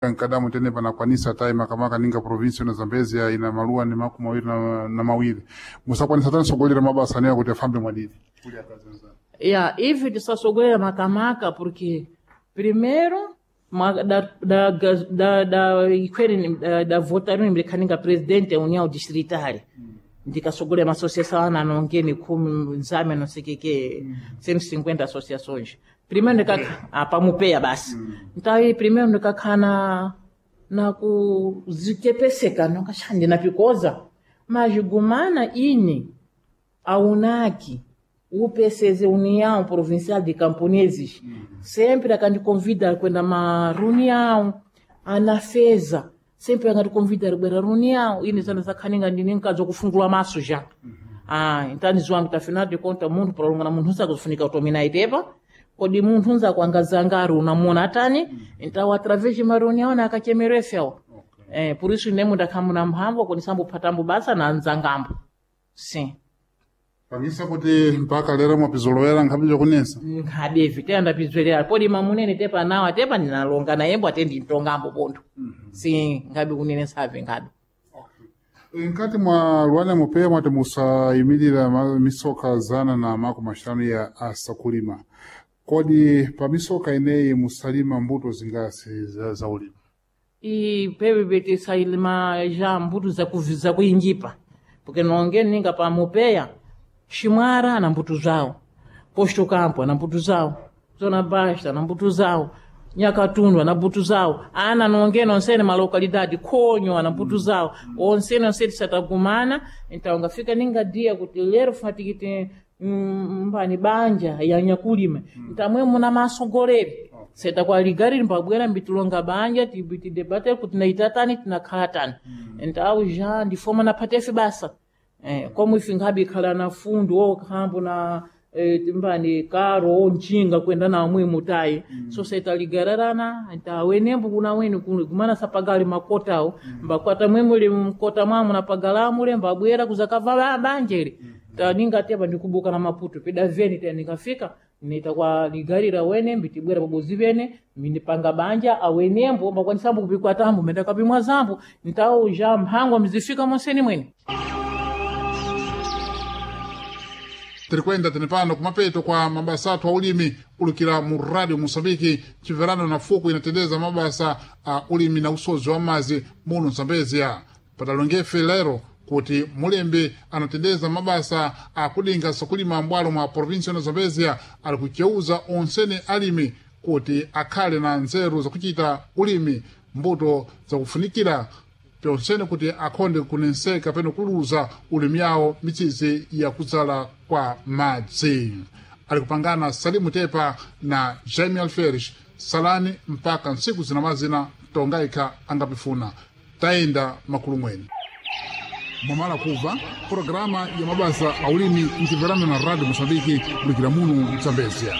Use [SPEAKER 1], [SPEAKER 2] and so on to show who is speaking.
[SPEAKER 1] Nkadamu tene panakwanisa tayi makamaka ninga provinsi na Zambezia ina maluwa ni makumi mawiri na mawiri musakwanisa tani sogolera mabasa anewa kuti afambe mwadidi kuli akazi anzanu.
[SPEAKER 2] Ya, ivi tisasogolera makamaka porque primeiro ma, da, da, da, da, ikweri da, da votaram ndikhaninga presidente ya união distritária ndikasogolera ma associação ana nongeni khumi nzame não sei que que 150 associações. Primeiro ndikakha apa mupeya basi. Então aí primeiro ndikakhana na kuzichepeseka nokashandi napikoza mas gumana ini a UNAC, UPCZ, União Provincial de Camponeses, sempre akandiconvida kwenda ma reunião, anafeza, sempre akandiconvida kwenda reunião, ine zana zakhaninga ndine nkazi kufungula maso já. Ah, então niziwa kuti afinal de contas munthu prolongana munthu usakufunika kutomina itepa, kodi munthu unzakuangazangari unamuna atani, então através de uma reunião na akachemerefewa. Eh, por isso nemo ndakhamuna mphamvu kunisambo basa na nzangambo. Sim.
[SPEAKER 1] Pangisa kuti mpaka lero mwapizolowera nkhabe jokunesa
[SPEAKER 2] nkhabevi teyanda pizwelera podi mamunene tepa nawa tepa ndinalonga naye ate ndintongambo pontho si nkhabe kunene save nkhabe.
[SPEAKER 1] Nkati mwa luwana mupeya mwati musayimirira misoka zana na makumi axanu ya asakulima kodi pa misoka ineyi musalima mbuto zingasi za ulimi?
[SPEAKER 2] I pepe tisalima já mbuto zakuyinjipa porque nonge ninga pa mupeya ximwara na mbuto zawo, posto campo na mbuto zawo, zona basta na mbuto zawo, nyakatundu na mbuto zawo, ana nonge nonsene malocalidade khonyo na mbuto zawo, onsene onsene tisatagumana. Então ngafika ninga dia kuti lero fatikiti mbani banja ya nyakulima ntamwe muna masogoleri seta kwa ligari mbabwera mbitulonga banja tibitidebate kuti naitatani tinakhala tani. Então já ndifoma na patefe basa. Eh, como ife nkhabe ikhala na fundo okhambo na timbani karo onjinga kwenda na mwe mutayi. So seta ligararana ntawenembo kuna weni kumana sapagali makotawo mbakwata mwemule mkota mwamu na pagalamule mbabwera kuzakava banjere taninga tepa ndikubuka na maputo pida veni te nikafika nita kwa ligarira wene mbitibwera pabozi vene mindipanga banja awenembo mbakwanisambo kupikwa tambo menda kapimwa zambo ntawo ja mphangwa mzifika monseni mwene.
[SPEAKER 1] Tiri kwenda tene pano kumapeto kwa mabasa athu a ulimi ulukira mu radio Moçambique chimverano na fuku inatendeza mabasa a ulimi na usozi wa mazi muno Zambezia. Padalongefe lero kuti mulembe anatendeza mabasa akudinga sakulima mbwalo mwa provinsi ya Zambezia ali kucheuza onsene alimi kuti akhale na nzeru zakuchita ulimi mbuto zakufunikira pyonsene kuti akhonde kunenseka peno kuluza ulimi yawo mitsizi yakudzala kwa madzi. Ali kupangana Salimu Tepa na Jaime Alferes salani mpaka ntsiku zina mazina tongayikha angapifuna tayenda makulu mwene mwamala kubva programa ya mabasa a ulimi mchimverano na radio Moçambique kulikira muno Zambezia.